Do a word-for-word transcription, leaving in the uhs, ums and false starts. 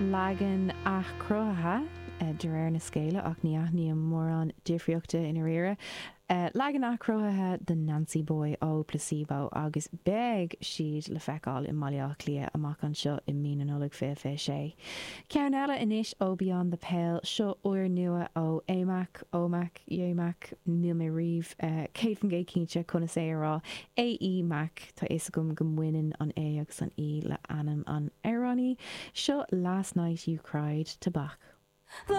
Leagan athchruthaithe de réir na scéala ach ní aithním mórán difríochta i ndáiríre. Uh, leagan athchruthaithe de Nancy Boy ó Placebo agus beidh siad le feiceáil i mBaile Átha Cliath amach anseo i mí na Nollag fiche fiche sé. Ceann eile anois ó Beyond the Pale seo úrnua ó Amac Ómac Émac níl mé riamh uh, céad faoin gcéad cinnte conas é a rá AE Mac tá is agam go mbaineann an A agus an E le ainm an amhránaí seo Last Night You Cried to Bach. The